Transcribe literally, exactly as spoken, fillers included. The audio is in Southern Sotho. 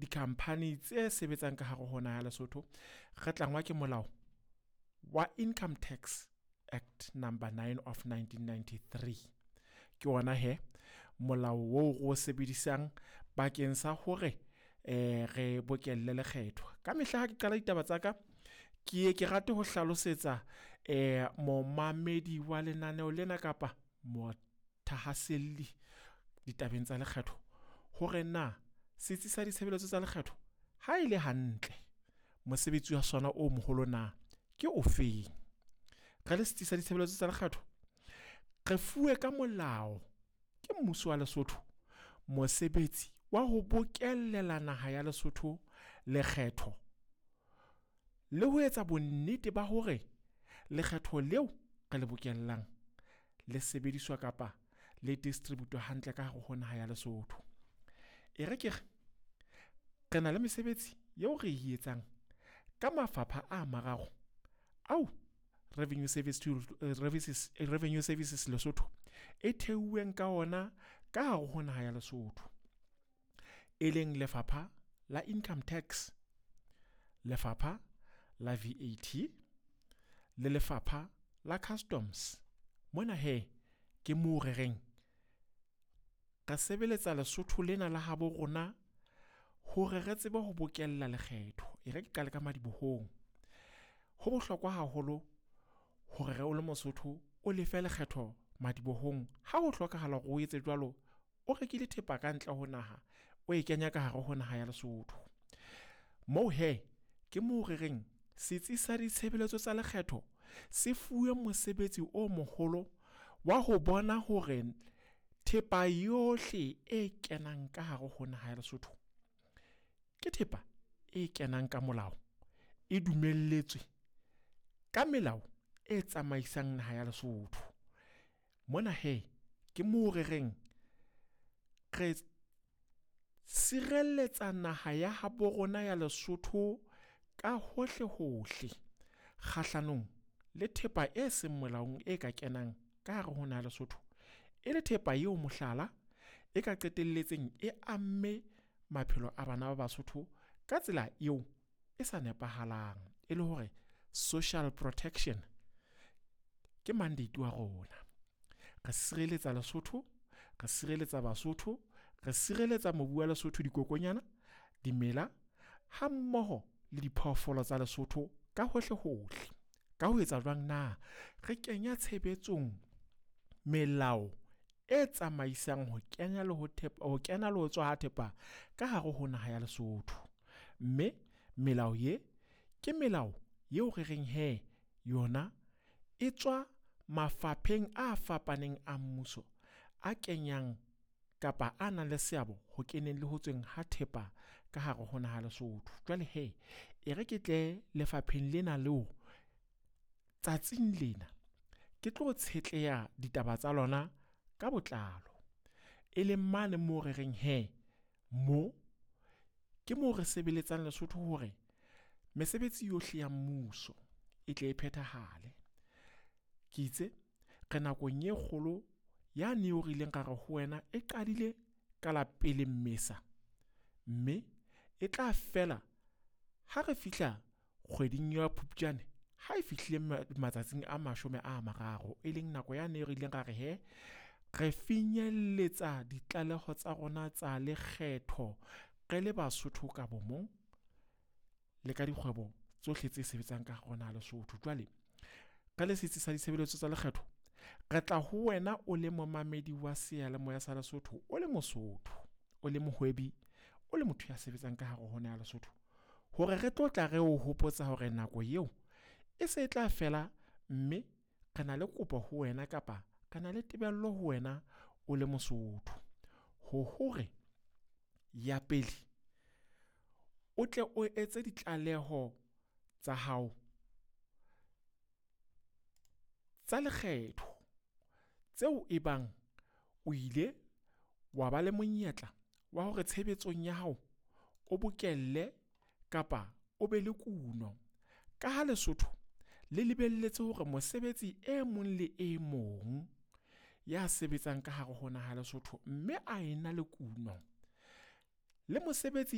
dikhamphani tse sebetsang ka hare ho naha ya Lesotho, re tlangwa ke molao wa Income Tax Act number nine of nineteen ninety-three. Ke ona he molao oo re o sebedisang bakeng sa hore eh re bokelle lekgetho. Ka mehla ha ke qala ditaba tsa ka, ke ye ke rate ho hlalosetsa eh momamedi wa lenaneo lena kapa mothahaselli ditabeng tsa lekgetho hore na setsi sa ditshebeletso tsa lekgetho ha e le hantle mosebetsi wa sona o moholo na ke ofeng. Re le setsi sa ditshebeletso tsa lekgetho, re fuwe ka molao ke mmuso wa Lesotho mosebetsi wa ho bokellela naha ya Lesotho lekgetho le ho etsa bonnete ba hore lekgetho leo re le bokellang le sebediswa kapa le distribute-wa hantle ka hare ho naha ya Lesotho. E re ke re, re na le mesebetsi eo re e etsang ka mafapha a mararo ao Revenue Service to Services Revenue Services Lesotho e theuweng ka ona ka hare ho naha ya Lesotho, e leng lefapha la Income Tax, lefapha la V A T le lefapha la Customs. Mona he ke moo re reng re sebeletsa Lesotho lena la habo rona hore re tsebe ho bokella lekgetho. E re ke qale ka madibohong. Ho bohlokwa haholo hore re o le Mosotho o lefe lekgetho madibohong ha ho hlokahala hore o etse jwalo, o rekile thepa ka ntle ho naha, o e kenya ka hare ho naha ya Lesotho. Moo he ke moo re reng setsi sa ditshebeletso tsa lekgetho se fuwe mosebetsi o moholo wa ho bona hore thepa yohle e kenang ka hare ho naha ya Lesotho ke thepa e kenang ka molao, e dumelletswe ka melao e tsamaisang naha ya Lesotho. Mona he ke moo re reng re sireletsa naha ya habo rona ya Lesotho ka hohle hohle kgahlanong le thepa e seng molaong e ka kenang ka hare ho naha ya Lesotho, e le thepa eo mohlala e ka qetelletseng e amme maphelo a bana ba Basotho ka tsela eo e sa nepahalang, e le hore social protection ke mandate wa rona. Re sireletsa Lesotho, re sireletsa Basotho, re sireletsa mobu wa Lesotho, dikokonyana, dimela ha mmoho le diphoofolo tsa Lesotho ka hohle hohle. Ka ho etsa jwang na? Re kenya tshebetsong melao e tsamaisang ho kenya le ho thepa, ho kena le ho tswa ha thepa ka hare ho naha ya Lesotho. Mme melao ye ke melao eo re reng he yona e tswa mafapheng a fapaneng a mmuso a kenyang kapa a nang le seabo ho keneng le ho tsweng ha thepa ka hare ho naha Lesotho. Jwale he e re ke tle lefapheng lena leo tsatsing lena ke tlo tshetleha ditaba tsa lona ka botlalo, e leng mane moo re reng he mo ke moo re sebeletsang Lesotho hore mesebetsi yohle ya mmuso e tle e phethahale. Ke itse re nakong e kgolo ya neo re ileng ra re ho wena e qadile ka la pele Mmesa, mme e tla fela ha re fihla kgweding ya Phupjane ha e fihlile matsatsing a mashome a mararo, e leng nako ya ne re ileng ra re he re finyelletsa ditlaleho tsa rona tsa lekgetho re le Basotho ka bomong le ka dikgwebo tsohle tse sebetsang ka hare ho naha Lesotho. Jwale re le setsi sa ditshebeletso tsa lekgetho, re tla ho wena o le momamedi wa seyalemoya sa Lesotho, o le Mosotho, o le mohwebi, o le motho ya sebetsang ka hare ho naha Lesotho, hore re tlo tla re o hopotsa hore nako eo e se e tla fela, mme re na le kopo ho wena kapa re na le tebello ho wena o le Mosotho ho hore ya pele o tle o etse ditlaleho tsa hao tsa lekgetho tseo e bang o ile wa ba le monyetla wa hore tshebetsong ya hao o bokelle kapa o be le kuno. Ka ha Lesotho le lebelletse hore mosebetsi e mong le e mong ya sebetsang ka hare ho naha Lesotho mme a ena le kuno, le mosebetsi